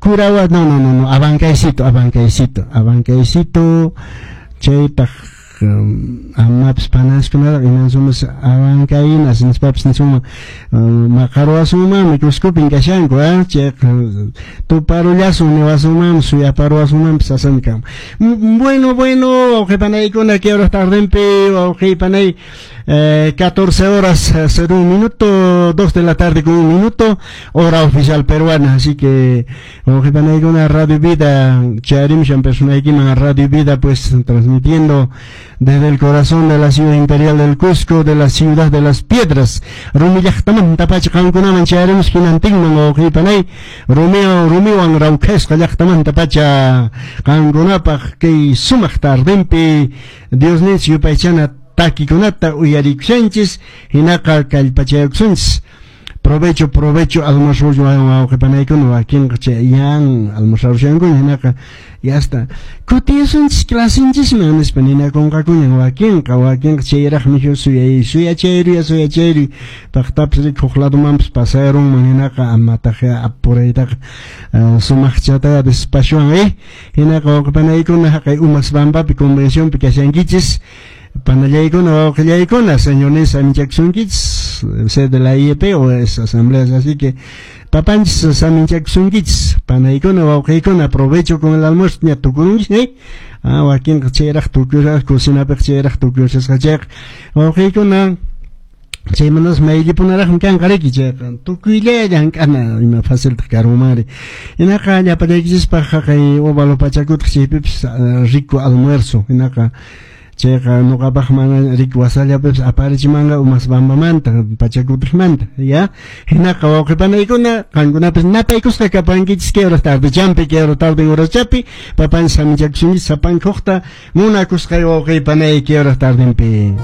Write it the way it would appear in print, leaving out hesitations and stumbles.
Curawa, no, no, no, no, Abancaycito, Abancaycito, Abancaycito, chaypaq amapis panaskunata imansumas Abancayinas nispapis nisunman maqaruwasunmanmi Cuscopin kashanku, chayqa tuparullasun niwasunmanmi suyaparuwasunmanpis sasami kanman. Bueno, bueno, wawqipanaykuna kay hora tardenpi wawqipanay 14 horas 01 minuto, 2 de la tarde con un minuto, hora oficial peruana. Así que, wawqipanaykuna, Radio Vida, chayarimushan personaykiman Radio Vida, pues transmitiendo desde el corazón de la ciudad imperial del Cusco, de la ciudad de las piedras. Rumi llaqtamanta pacha qankunaman chayarimus hinantinman wawqipanay, rumiwan rumiwan rawkhasqa llaqtamanta pacha qankunapaq kay sumaq tardenpi Diosninchik yupaychana takikunata uyarikushanchis hinaqa kallpachaykusunchis. Provecho, provecho almuerzo wawqipanaykuna wakinqa chay yan almorzarushankuña hinaqa ya está kutisunchis clasinchisman nispa ninakunqakuña wakinqa wakinqa chayraqmi suyay suyachayruy suyachayruy paqtapis rik huk ladomanpis pasarunman hinaqa amataq apuraytaqa sumaqchata despachwan hinaqa wawqipanaykuna haqay Umas Pampapi convencionpi kashankichis panallaykuna wawqillaykuna señornis saminchakusunkichis sede de la IEP o es asambleas, así que papanchis saminchakusunkichis panaykuna wawqiykuna, provecho con el almuerzo ña tukurunchis wakinqa chayraq tukuraq cocinapiq chayraq tukushasqa chayqa wawqiykuna chaymantas mayllipunaraqmi kanqa riki chayqa tukuylla llank'ana ima faciltaq karunmanri hinaqa llapallaykichispaq haqay óvalo Pachacútec chaypipis rico almuerzo hinaqa chayqa nuqapaq mana riki wasallapipis aparichimanqa Umas Pampamanta Pachacútecmanta ya hinaqa wawqipanaykuna qankunapis napaykusqa kapankichis kay hora tardechampi kay hora tarde horachapi papanchis saminchakusunchis sapanka huqta munakusqay wawqipanay kay hora tardenpi.